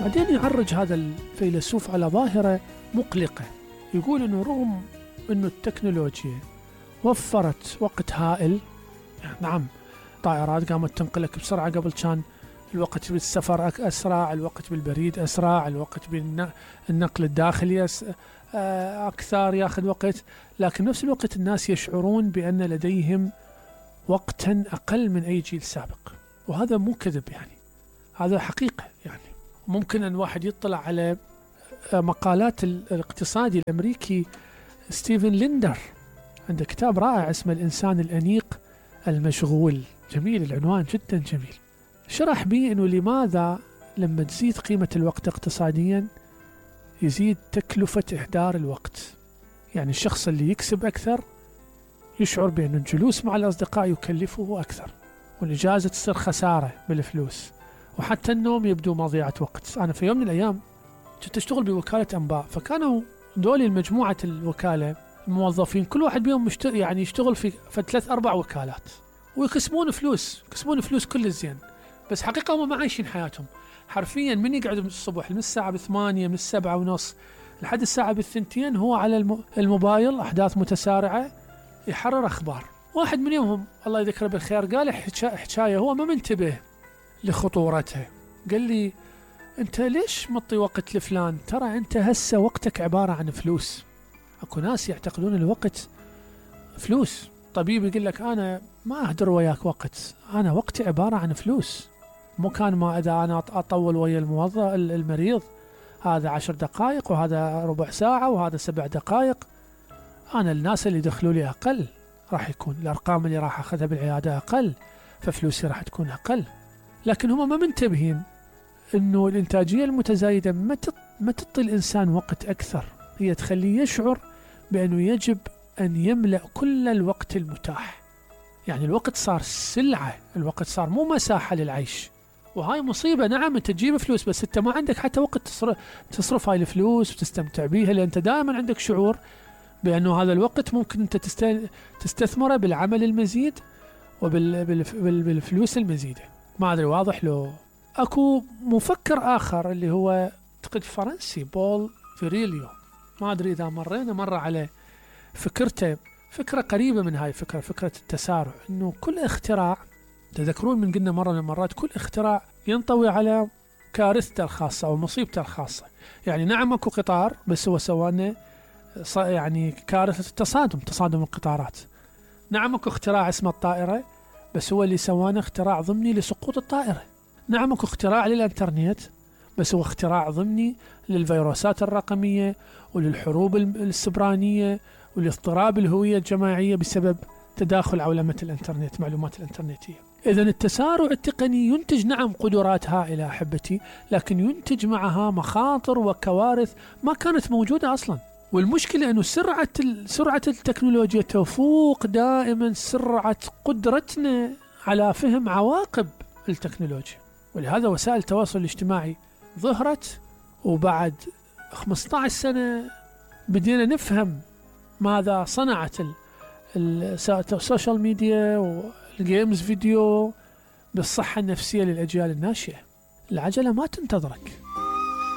بعدين يعرج هذا الفيلسوف على ظاهرة مقلقة، يقول أنه رغم أنه التكنولوجيا وفرت وقت هائل، نعم طائرات قامت تنقلك بسرعة، قبل كان الوقت بالسفر أسرع، الوقت بالبريد أسرع، الوقت بالنقل الداخلي أكثر يأخذ وقت، لكن نفس الوقت الناس يشعرون بأن لديهم وقتا أقل من أي جيل سابق، وهذا مو كذب يعني، هذا حقيقة يعني. ممكن أن واحد يطلع على مقالات الاقتصادي الأمريكي ستيفن ليندر، عنده كتاب رائع اسمه الإنسان الأنيق المشغول، جميل العنوان جدا جميل، شرح به أنه لماذا لما تزيد قيمة الوقت اقتصاديا يزيد تكلفة إهدار الوقت. يعني الشخص اللي يكسب أكثر يشعر بأن الجلوس مع الأصدقاء يكلفه أكثر، والإجازة تصير خسارة بالفلوس، وحتى النوم يبدو مضيعة وقت. أنا في يوم من الأيام كنت أشتغل بوكالة أنباء، فكانوا دولي المجموعة الوكالة الموظفين كل واحد بيهم يعني يشتغل في 3-4 وكالات، ويقسمون فلوس كل الزين، بس حقيقة هم ما عايشين حياتهم حرفيا. من يقعد من الصبح من الساعة 8 من 7:30 لحد الساعة 2 هو على الموبايل، أحداث متسارعة يحرر أخبار. واحد من يومهم الله يذكره بالخير قال حكاية هو ما منتبه لخطورتها، قال لي أنت ليش مطي وقت لفلان؟ ترى أنت هسه وقتك عبارة عن فلوس. أكو ناس يعتقدون الوقت فلوس. طبيب يقول لك أنا ما أهدر وياك وقت، أنا وقتي عبارة عن فلوس. مو كان ما إذا أنا أطول ويا المريض هذا 10 دقائق وهذا ربع ساعة وهذا 7 دقائق، أنا الناس اللي دخلوا لي أقل راح يكون الأرقام اللي راح أخذها بالعيادة أقل، ففلوسي راح تكون أقل. لكن هم ما منتبهين إنه الإنتاجية المتزايدة ما تعطي الإنسان وقت أكثر، هي تخليه يشعر بأنه يجب أن يملأ كل الوقت المتاح. يعني الوقت صار سلعة، الوقت صار مو مساحة للعيش، وهاي مصيبة. نعم أنت تجيب فلوس بس أنت ما عندك حتى وقت تصرف هاي الفلوس وتستمتع بيها، لأن أنت دائما عندك شعور بأنه هذا الوقت ممكن أنت تستثمره بالعمل المزيد وبالفلوس المزيدة. ما أدري واضح لو. أكو مفكر آخر اللي هو أعتقد فرنسي بول فيريليو، ما أدري إذا مرة على فكرته، فكرة قريبة من هاي فكرة التسارع، إنه كل اختراع تذكرون من قلنا مرة من المرات كل اختراع ينطوي على كارثته الخاصة أو مصيبته الخاصة. يعني نعم أكو قطار بس هو سوانا يعني كارثة تصادم القطارات. نعم أكو اختراع اسمه الطائرة بس هو اللي سوانا اختراع ضمني لسقوط الطائرة. نعم أكو اختراع للإنترنت بس هو اختراع ضمني للفيروسات الرقمية وللحروب السبرانية ولاضطراب الهوية الجماعية بسبب تداخل عولمة الإنترنت، معلومات الإنترنتية. إذن التسارع التقني ينتج نعم قدرات هائلة أحبتي، لكن ينتج معها مخاطر وكوارث ما كانت موجودة أصلا. والمشكلة أنه سرعة التكنولوجيا تفوق دائما سرعة قدرتنا على فهم عواقب التكنولوجيا، ولهذا وسائل التواصل الاجتماعي ظهرت، وبعد 15 سنة بدينا نفهم ماذا صنعت السوشيال ميديا والجيمز فيديو بالصحة النفسية للأجيال الناشئة. العجلة ما تنتظرك.